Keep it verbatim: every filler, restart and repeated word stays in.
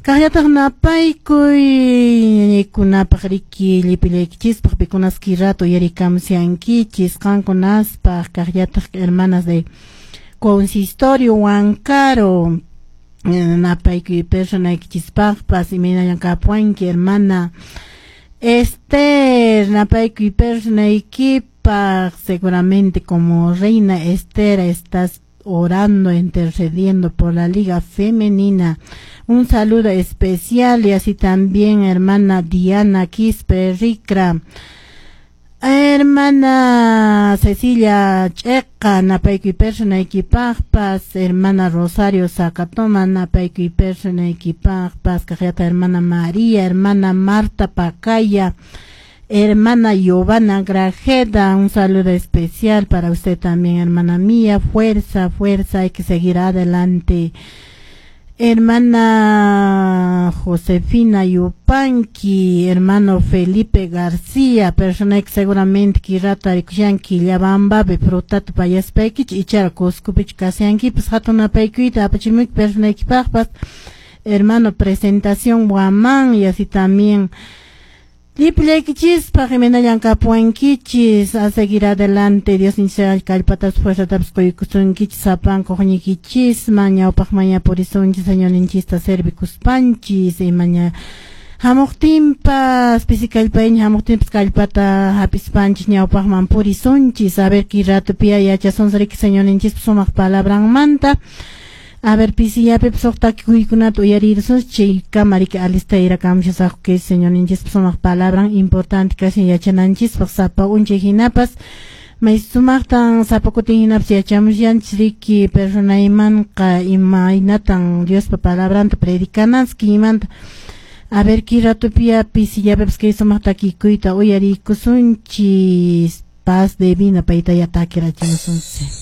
Kaqllataq napaykuy ñañaykunapaq riki llipillaykichispaq pikunas rato uyarikamushankichis qankunaspaq kaqllataq hermanas de consistorio Huancaro napaykuy personaykichispaqpas imaynallan kapuanki hermana Esther napaykuy personaykipaq seguramente como reina Esther estás orando, intercediendo por la Liga Femenina. Un saludo especial y así también hermana Diana Quispe Ricra. Hermana Cecilia Checa, napaykuy personaykipaqpas, hermana Rosario Zacatoma, napaykuy personaykipaqpas, kaqllata hermana María, hermana Marta Pacaya, hermana Giovanna Grajeda, un saludo especial para usted también, hermana mía, fuerza, fuerza, hay que seguir adelante. Hermana Josefina Yupanqui, hermano Felipe García, persona que seguramente kirata rikushanki Quillabambapi frutata pallaspaykichik ichara Cuscopichu kashankipas hatun napaykuyta apachimuyki personaykipaqpas hermano Presentación Guamán y así también Llipillaykichispaq imaynallan kapuwankichis a seguir adelante Dios ninchik kallpatas fuerzatapas quykusunkichis sapanka uqñiykichisman ñawpaqman purisunchis Señorninchista servikuspanchis imaña hamuqtinpas pisi kallpayña hamuqtinpas kallpata hapispanchis ñawpaqman purisunchis a ver kay ratopiya yachasunchis riki Señorninchispa sumaq palabranmanta a ver pisillapipas huk takikuykunata uyarirusunchis chaykama riki alistayrakamishasaqku kay Señorninchispa sumaq palabran importante kashan yachananchispaq sapa unchay hinapas may sumaqtan sapa kutin hinapas yachamushanchis riki personaymanqa imaynatan Diospa palabranta predicananchis kiymanta a ver kay ratopiya pisillapipas kay sumaq takikuyta uyariykusunchis paz divina paytaya takirachimusunchis.